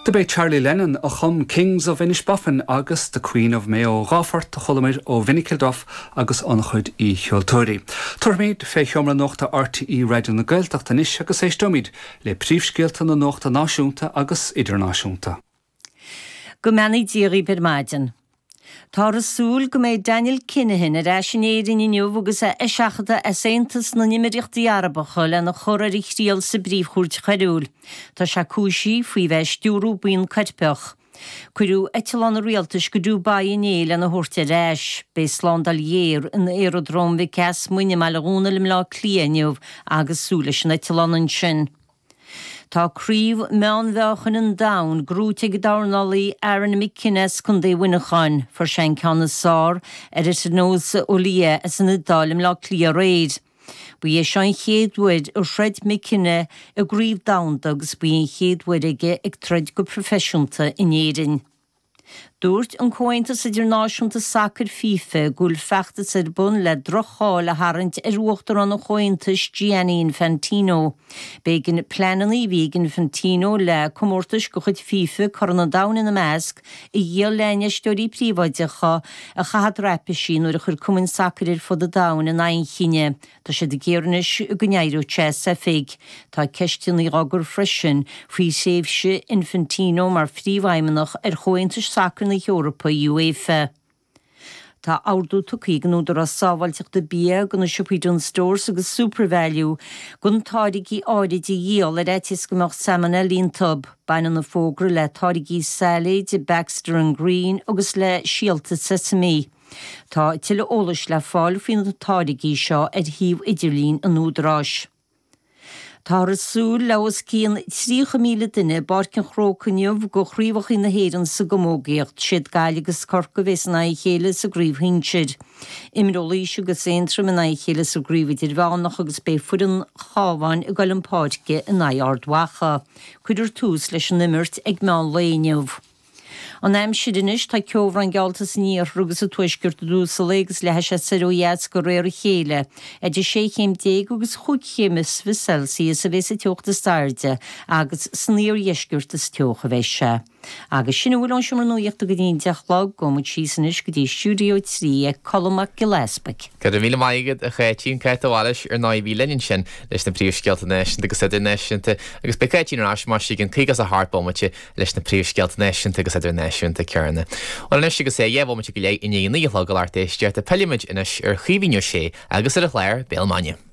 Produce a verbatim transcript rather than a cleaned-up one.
Do b'é Charlie Lennon a chum Kings of Inishbofin agus The Queen of Mayo dhá phort a chualamar ó Vinnie Kilduff agus an-chuid aoicheoltóirí. Tabharfaimid fé sheomra nuachta RTÉ Raidió na Gaeltachta anois agus éisteoimid le príomhscéalta na nuachta náisiúnta agus idirnáisiúnta. Go mbeannaí Dia dhaoibh ar maidin. Tá súil go mbeidh Daniel Kinahan ar ais in Éirinn inniu agus é eiseachadta as Aontas na nÉimíríochtaí Arabacha lena chur ar a thriail sa bPríomhchúirt Choiriúil. Tá sé cúisithe faoi bheith ag stiúradh buíon coirpeach. Cuireadh eitleán an rialtais go Dubai inné lena thabhairt ar ais, beidh slándáil ghéar in aeradróm Mhic Easmuinn i mBaile Dhúnail i mBleá Cliath inniu agus súil leis an eitleán ansin. Tá craobh meánmheáchain an domhain gnóthaithe ag dornálaí Aaron McKenna as Contae Mhuineacháin, fuair sé an ceann is fearr ar Etinosa Olia as an Iodáil i mBleá Cliath aréir. Ba é seo an chéad uair a throid McKenna i gcraobh domhanda agus ba í an chéad uair aige ag troid go proifisiúnta in Éirinn. Dúirt an Comhaontas Idirnáisiúnta Sacair FIFA go bhfuil feachtas ar bun le droch-cháil a tharraingt ar uachtarán an Chomhaontais Gianni Infantino. B'éigean pleananna a bhí ag Infantino le comórtais de chuid FIFA Corn an Domhain ina measc a dhíol le infheisteoirí príobháideacha a chaitheamh traipisí nuair a chuir cumainn sacair ar fud an domhain in aghaidh an chinnidh. Tá siad ag iarraidh anois go n-éireodh sé as oifig. Tá ceisteanna á gcur freisin faoi thréimhse Infantino mar phríomhfheidhmeannach ar Chomhaontas Sacair na hEorpa UEFA. Tá ordú tugtha ag an Údarás Sábháilteachta Bia do na siopaí Dunnes Stores agus SuperValu gan táirgí áirid a dhíol ar fhaitíos go mbeadh salmonella iontu. Baineann an fógra le táirgí sailéid, Baxter and Green agus le síolta sesame. Tá tuilleadh eolais le fáil faoi na táirgí seo ar shuíomh idirlín an Údaráis. Tá súil le os cionn tríocha míle duine i bPáirc an Chrócaigh inniu do chraobhacha na hÉireann sa gcamógaíocht, siad Gaillimh agus Corcaigh a bheas in aghaidh a chéile sa gcraobh shinsir. Imreoidh Laois agus Aontroim in aghaidh a chéile sa gcraobh idirmheánach agus beidh foireann Chabháin ag dul chun páirce in aghaidh Ard Mhacha. Cuirfear tús leis an imirt ag meán lae inniu. An aimsir anois tá ceobhrán geallta san iarthar agus sa tuaisceart i dtús an lae agus leathfaidh sé soir ó dheas de réir a chéile. Idir sé chéim déag agus chúig chéim is fiche Celsius a bheas an teocht is airde agus san iardheisceart is teocha a bheidh sé. Agus sin a bhfuil ón seomra nuachta go dtí an deich a chlog gabhfaidh muid síos anois go dtí stiúideo trí ag Colm Mac Giolla Easpaig. Go raibh míle maith agat a Cháitín Cáit de Bhailís ar ndóigh bhí linn ansin leis na príomhscéalta náisiúnta agus idirnáisiúnta agus beidh Cáitín ar ais mar sin caoga a hocht bomaite leis na príomhscéalta náisiúnta agus idirnáisiúnta céanna. Well anois agus é dhá bhomaite go leith i ndiaidh a naoi a chlog a lucht éisteachta pillfimid anois ar Chaoimhín Ó Sé agus ar a chlár Béal Maidine.